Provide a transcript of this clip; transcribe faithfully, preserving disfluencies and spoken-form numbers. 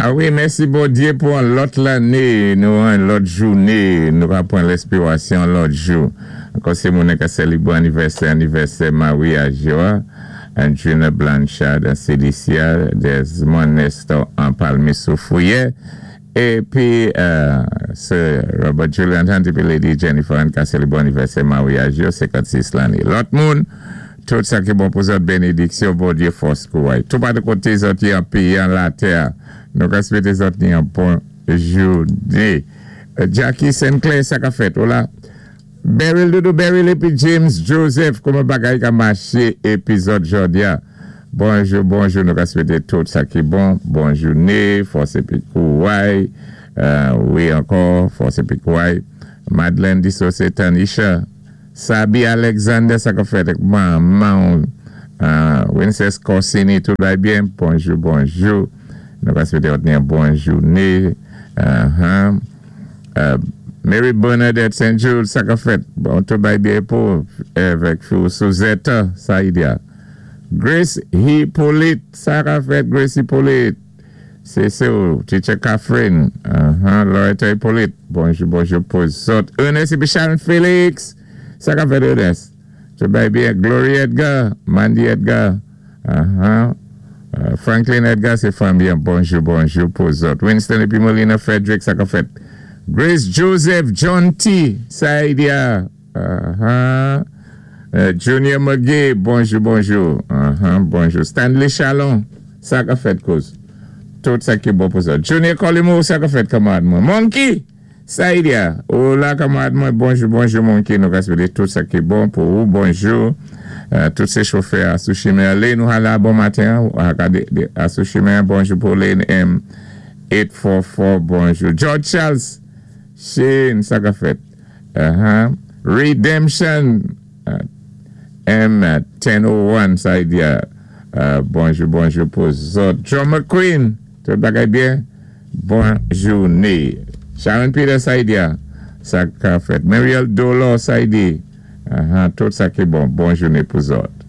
A wi, mèsi Bondyé pou an lòt lanné, nou an lòt jouné, nou ka pwan lèspirasyon lòt jou. Ankò sé moun ka sélébwé anivèsè, anivèsè maryaj yo, Andrina Blanchard an Celicia, Desmond Nestor an Palmi Soufrière, épi euh, Sir Robert Julian Hunt épi Lady Jennifer an ka sélébwé anivèsè maryaj yo, senkannsis lanné. Lòt moun, tout sa ki bon pou zòt, bénédiksyon, Bondyé, fòs kouway. Tout pa de koté zòt an péyi, an latè, nou ka swété zòt ni an bon jouné. Jackie Sinclair, sa ka fèt, hola. Beryl Doudou Beryl épi James Joseph, kouman bagay ka maché épizòd jòdi a. Bonjou, bonjou, nou ka swété tout sa ki bon. Bon jouné, fòs épi kouway. Euh, wi, ankò, fòs épi kouway. Madeleine Dissosé Tanisha. Sabi Alexander, sa ka fèt manman, euh, Winces Corsini, tout va byen. Bonjou, bonjou. Nou ka swété yon bon jouné. Uh-huh. Euh, Mary Bernadette Saint Jude, sa ka fèt. Bon, tout va byen pou avèk Suzette, sa y a. Grace Hippolyte, sa ka fèt, Grace Hippolyte. Sé sa, Teacher Catherine, uh-huh, Loretta Hippolyte. Bonjou, bonjou pou zòt. Ernest épi Sharon Félix, sa ka fèt, Ernest. Tout va byen. Glory Edgar, Mandy Edgar, uh-huh. Uh, Franklin Edgar, sé fanmi. Bonjou, bonjou pou zòt. Winston épi Molina Frederick, sa ka fèt. Grace Joseph, John T. Saidia. Uh-huh. Uh, Junior McGee, bonjou, bonjou. Uh-huh, bonjou. Stanley Chalon, sa ka fèt kouz. Tout sa ki bon pou sa. Junior Colimo, sa ka fèt kanmarad mwen. Monkey, Saidia. Hola kanmarad mwen, bonjou, bonjou Monkey. Nou ka swété tout sa ki bon pou ou. Bonjou. Euh, tout sé chofè a sou chimen. Lane nou la bon maten. A sou chimen, bonjou pou Lane M. eight four four, bonjou. George Charles, Shane, sa ka fèt. Uh-huh. Redemption, uh, M ten oh one, sa y di a. Uh, bonjou, bonjou pou zòt. John McQueen, tout bagay byen? Bon jouné. Sharon Peter, sa y di a. Sa ka fèt. Mariel Dolo, sa y di. Uh-huh. Tout sa ki bon. Bon jouné pou zòt.